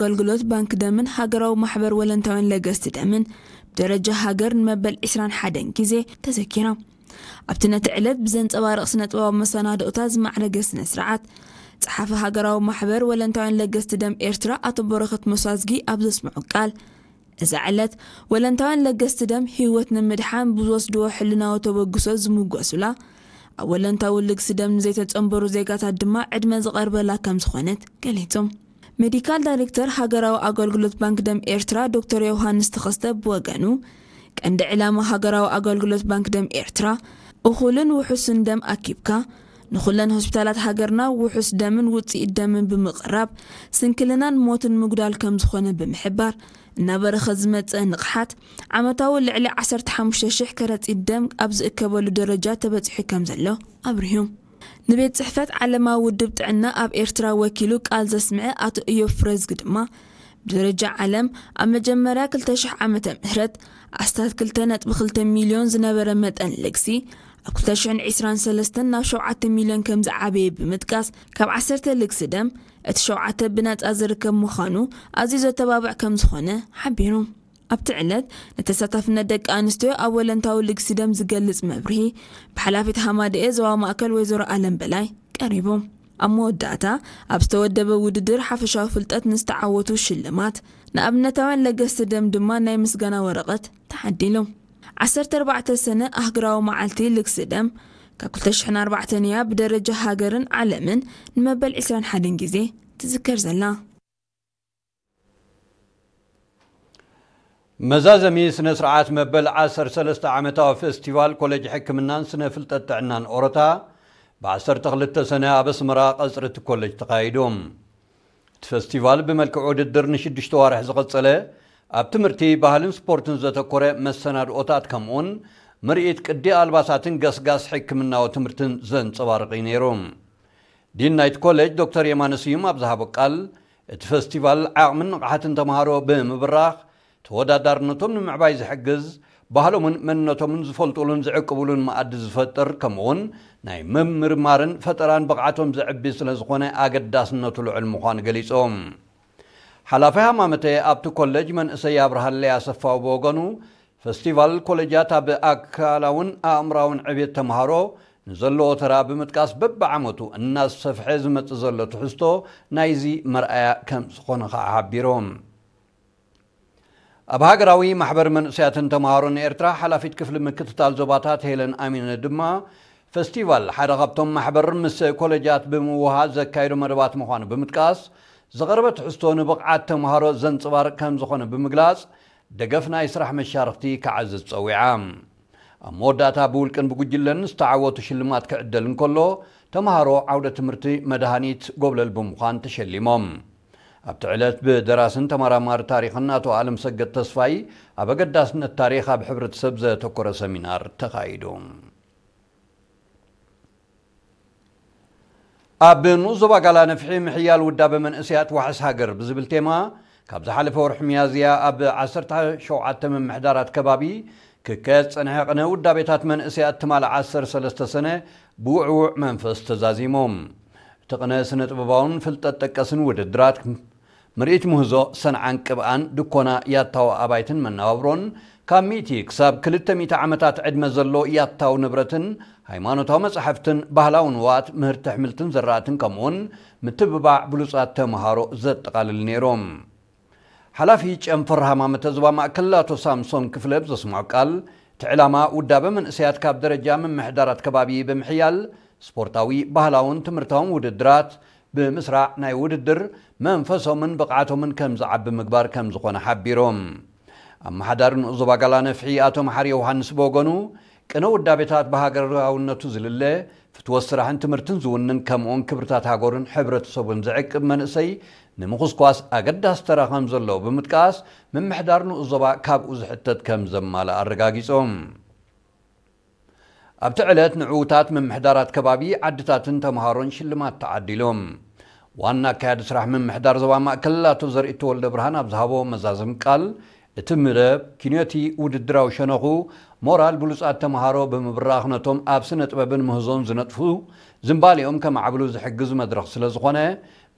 ኣገልግሎት ባንክ ደምን ሃገራዊ ማሕበር ወለንታውያን ለገስቲ ደምን ብደረጃ ሃገር ንመበል ዕስራን ሓደን ግዜ ተዘኪሮም። ኣብቲ ነቲ ዕለት ብዘንጸባርቕ ስነ ጥበባዊ መሰናድኦታት ዝማዕረገ ስነ ስርዓት፣ ጸሓፊ ሃገራዊ ማሕበር ወለንታውያን ለገስቲ ደም ኤርትራ ኣቶ በረኸት መሳዝጊ ኣብ ዘስምዑ ቃል፣ እዛ ዕለት ወለንታውያን ለገስቲ ደም ህይወት ንምድሓን ብዝወስድዎ ሕልናዊ ተበግሶ ዝምጎሱላ፣ ኣብ ወለንታዊ ልግሲ ደም ንዘይተጸንበሩ ዜጋታት ድማ ዕድመ ዝቐርበላ ከም ዝኾነት ገሊጹ። ሜዲካል ዳይሬክተር ሃገራዊ ኣገልግሎት ባንክ ደም ኤርትራ ዶክተር ዮሃንስ ተኸስተ ብወገኑ፣ ቀንዲ ዕላማ ሃገራዊ ኣገልግሎት ባንክ ደም ኤርትራ፣ እኹልን ውሑስን ደም ኣኪብካ፣ ንኹለን ሆስፒታላት ሃገርና ውሑስ ደምን ውጽኢት ደምን ብምቕራብ፣ ስንክልናን ሞትን ምጉዳል ከም ዝኾነ ብምሕባር፣ እናበረኸ ዝመጸ ንቕሓት፣ ዓመታዊ ልዕሊ ዓሰርተ ሓሙሽተ ሽሕ ከረጺት ደም ኣብ ዝእከበሉ ደረጃ ተበጺሑ ከም ዘሎ ኣብሪሁ። ንቤት ጽሕፈት ዓለማዊ ውድብ ጥዕና ኣብ ኤርትራ ወኪሉ ቃል ዘስምዐ ኣቶ እዮብ ፍረዝጊ ድማ፣ ብደረጃ ዓለም ኣብ መጀመርያ ክልተ ሽሕ ዓመተ ምህረት ኣስታት ክልተ ነጥቢ ክልተ ሚልዮን ዝነበረ መጠን ልግሲ፣ ኣብ ክልተ ሽሕን ዕስራን ሰለስተን ናብ ሸውዓተ ሚልዮን ከም ዝዓበየ ብምጥቃስ፣ ካብ ዓሰርተ ልግሲ ደም እቲ ሸውዓተ ብነጻ ዝርከብ ምዃኑ ኣዝዩ ዘተባብዕ ከም ዝኾነ ሓቢሩ። ኣብቲ ዕለት፣ ንተሳታፍነት ደቂ ኣንስትዮ ኣብ ወለንታዊ ልግሲ ደም ዝገልጽ መብርሂ ብሓላፊት ሃማደኤ ዞባ ማእከል ወይዘሮ ኣለም በላይ ቀሪቡ። ኣብ መወዳእታ፣ ኣብ ዝተወደበ ውድድር ሓፈሻዊ ፍልጠት ንዝተዓወቱ ሽልማት፣ ንኣብነታውያን ለገስቲ ደም ድማ ናይ ምስጋና ወረቐት ተዓዲሉ። ዓሰርተ ኣርባዕተ ሰነ ኣህግራዊ መዓልቲ ልግሲ ደም፣ ካብ ክልተ ሽሕን ኣርባዕተን እያ ብደረጃ ሃገርን ዓለምን ንመበል ዕስራን ሓደን ግዜ ትዝከር ዘላ። መዛዘሚ ስነ ስርዓት መበል ዓሰርተ ሰለስተ ዓመታዊ ፌስቲቫል ኮሌጅ ሕክምናን ስነ ፍልጠት ጥዕናን ኦሮታ ብ ዓሰርተ ክልተ ሰነ ኣብ ኣስመራ ቀጽሪ እቲ ኮሌጅ ተኻይዱ። እቲ ፌስቲቫል ብመልክዕ ውድድር ንሽዱሽተ ዋርሕ ዝቐጸለ፣ ኣብ ትምህርቲ፣ ባህልን ስፖርትን ዘተኮረ መሰናድኦታት፣ ከምኡውን ምርኢት ቅዲ ኣልባሳትን ገስጋስ ሕክምናዊ ትምህርትን ዘንጸባርቕ እዩ ነይሩ። ዲን ናይቲ ኮሌጅ ዶክተር የማነ ስዩም ኣብ ዝሃቦ ቃል፣ እቲ ፈስቲቫል ዓቕምን ንቕሓትን ተምሃሮ ብምብራኽ፣ ተወዳዳርነቶም ንምዕባይ ዝሕግዝ፣ ባህሎምን መንነቶምን ዝፈልጡሉን ዝዕቅቡሉን መኣዲ ዝፈጥር፣ ከምኡውን ናይ ምምርማርን ፈጠራን ብቕዓቶም ዘዕቢ ስለ ዝኾነ ኣገዳስነቱ ልዑል ምዃኑ ገሊጾም። ሓላፊ ሃማመተ ኣብቲ ኮሌጅ መንእሰይ ኣብርሃለይ ኣሰፋው ብወገኑ፣ ፈስቲቫል ኮሌጃት ኣብ ኣካላውን ኣእምራውን ዕብየት ተምሃሮ ንዘለዎ ተራ ብምጥቃስ፣ በብዓመቱ እናሰፍሐ ዝመጽእ ዘሎ ትሕዝቶ ናይዚ መርኣያ ከም ዝኾነ ከኣ ሓቢሮም። ኣብ ሃገራዊ ማሕበር መንእሰያትን ተምሃሮን ኤርትራ ሓላፊት ክፍሊ ምክትታል ዞባታት ሄለን ኣሚነ ድማ፣ ፈስቲቫል ሓደ ካብቶም ማሕበር ምስ ኮሌጃት ብምውሃድ ዘካየዶ መደባት ምዃኑ ብምጥቃስ፣ ዝቐረበ ትሕዝቶ ንብቕዓት ተምሃሮ ዘንጽባርቕ ከም ዝኾነ ብምግላጽ፣ ደገፍ ናይ ስራሕ መሻርኽቲ ክዓዝዝ ጸዊዓ። ኣብ መወዳእታ ብውልቅን ብጉጅለን ዝተዓወቱ ሽልማት ክዕደል እንከሎ፣ ተምሃሮ ዓውደ ትምህርቲ መድሃኒት ጎብለል ብምዃን ተሸሊሞም። ኣብቲ ዕለት ብደራስን ተመራማሪ ታሪኽን ኣቶ ኣለም ሰገድ ተስፋይ ኣብ ኣገዳስነት ታሪኽ ኣብ ሕብረተሰብ ዘተኮረ ሰሚናር ተኻይዱ። ኣብ ንኡስ ዞባ ጋላ ነፍሒ ምሕያል ውዳበ መንእሰያት ዋሕስ ሃገር ብዝብል ቴማ፣ ካብ ዝሓለፈ ወርሒ ሚያዝያ ኣብ ዓሰርተ ሸውዓተ ምምሕዳራት ከባቢ ክካየድ ዝጸንሐ ቅነ ውዳቤታት መንእሰያት ትማል ዓሰርተ ሰለስተ ሰነ ብውዕዉዕ መንፈስ ተዛዚሞም። እቲ ቅነ ስነ ጥበባውን ፍልጠት ጠቀስን ውድድራት፣ ምርኢት ምህዞ፣ ሰንዓን ቅብኣን፣ ድኮና፣ ያታዊ ኣባይትን መነባብሮን፣ ካብ ሚእቲ ክሳብ ክልተ ሚእቲ ዓመታት ዕድመ ዘሎ ያታዊ ንብረትን፣ ሃይማኖታዊ መጻሕፍትን፣ ባህላዊ ንዋት፣ ምህርቲ ኣሕምልትን ዘራእትን፣ ከምኡውን ምትብባዕ ብሉጻት ተምሃሮ ዘጠቓልል ነይሮም። ሓላፊ ጨንፈር ሃማመተ ዞባ ማእከል ኣቶ ሳምሶን ክፍለ ብዘስምዖ ቃል፣ እቲ ዕላማ ውዳበ መንእሰያት ካብ ደረጃ ምምሕዳራት ከባቢ ብምሕያል፣ ስፖርታዊ፣ ባህላውን ትምህርታውን ውድድራት ብምስራዕ፣ ናይ ውድድር መንፈሶምን ብቕዓቶምን ከም ዝዓቢ ምግባር ከም ዝኾነ ሓቢሮም። ኣመሓዳሪ ንኡስ ዞባ ጋላ ነፍሒ ኣቶ መሓሪ ዮሃንስ ብወገኑ፣ ቅነ ውዳቤታት ብሃገራውነቱ ዝልለ፣ ፍትወት ስራሕን ትምህርትን ዝውንን፣ ከምኡውን ክብርታት ሃገሩን ሕብረተሰቡን ዝዕቅብ መንእሰይ ንምኹስኳስ ኣገዳሲ ተራ ከም ዘለዎ ብምጥቃስ፣ ምምሕዳር ንኡስ ዞባ ካብኡ ዝሕተት ከም ዘማልእ ኣረጋጊጾም። ኣብቲ ዕለት ንዕዉታት ምምሕዳራት ከባቢ፣ ዓድታትን ተምሃሮን ሽልማት ተዓዲሎም። ዋና ኣካያዲ ስራሕ ምምሕዳር ዞባ ማእከል ኣቶ ዘርእቱ ወልደ ብርሃን ኣብ ዝሃቦ መዛዘሚ ቃል፣ እቲ መደብ ኪንዮቲ ውድድራዊ ሸነኹ ሞራል ብሉጻት ተምሃሮ ብምብራኽ፣ ነቶም ኣብ ስነ ጥበብን ምህዞን ዝነጥፉ ዝንባሌኦም ከማዕብሉ ዝሕግዝ መድረኽ ስለ ዝኾነ፣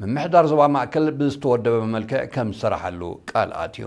ምምሕዳር ዞባ ማእከል ብዝተወደበ መልክዕ ከም ዝሰራሓሉ ቃል ኣትዩ።